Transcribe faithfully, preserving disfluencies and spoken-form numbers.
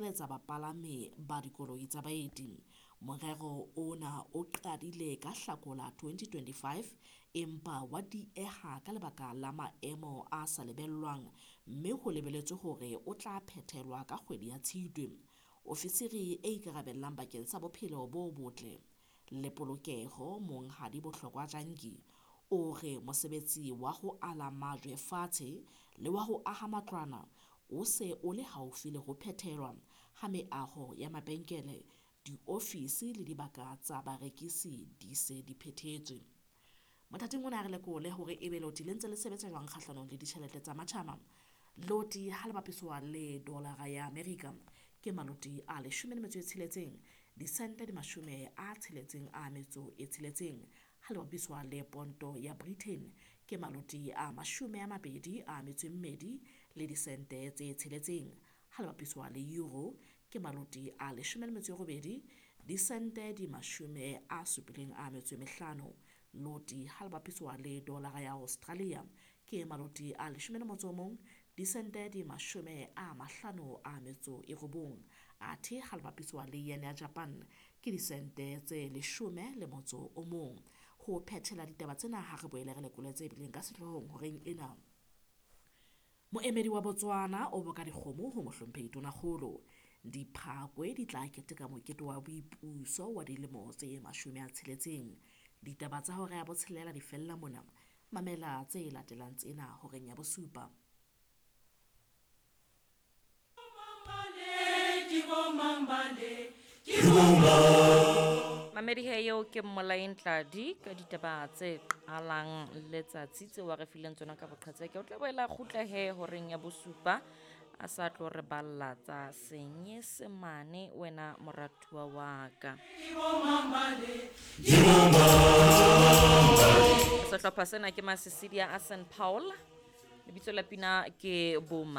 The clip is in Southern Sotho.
Etsa bapalami ba dikoloi tsa baeti. Morero ona o qadile ka Hlakola twenty twenty-five empa wa dieha ka lebaka la maemo a sa lebellwang mme ho lebeletswe hore o tla phethelwa ka kgwedi ya Tshitwe. Ofisiri e ikarabellang bakeng sa bophelo bo botle le polokeho Monghadi Bohlokwa Jantjie o re mosebetsi wa ho ala majwe fatshe le wa ho aha matlwana o se o le haufi le ho phethelwa, ha meaho ya mabenkele, diofisi le dibaka tsa barekisi di se di phethetswe. Mothating ona ha re lekole hore ebe loti le ntse le sebetsa jwang kgahlanong le ditjhelete tsa matjhaba. Loti ha le bapiswa le dolara ya Amerika ke maloti a leshome le metso e tsheletseng, disente di mashome a tsheletseng a metso e tsheletseng. Ha le bapiswa le ponto ya Britain ke maloti a mashome a mabedi a metso e mmedi le disente tse tsheletseng. Ha le bapiswa le euro ke maloti a leshome le metso e robedi, disente di mashome a supileng a metso e mehlano. Loti ha le bapiswa le dolara ya Australia ke maloti a leshome le motso o mong, disente di mashome a mahlano a metso e robong. Athe ha le bapiswa le yen ya Japan ke disente tse leshome le motso o mong. Ho phethela ditaba tsena ha re boele re lekole tse bileng ka sehloohong horeng ena. Moemedi wa Botswana o boka dikgomo ho mohlomphehi Tonakgolo. Diphakwe di tla keteka mokete wa boipuso wa dilemo tse mashome a tsheletseng. Ditaba tsa hora ya botshelela di fella mona. Mamela tse latelang tsena horeng ya bosupa. Mamedi he eo ke Mmolaeng Tladi ka ditaba tse qalang letsatsi tseo a re fileng tsona ka boqhetseke. O tla boela kgutla he horeng ya bosupa a sa tlo re balla tsa Senyesemane wena moratuwa wa ka. Sehlopha sena ke Masisidia a Saint Paul. Lebitso la pina ke Boma.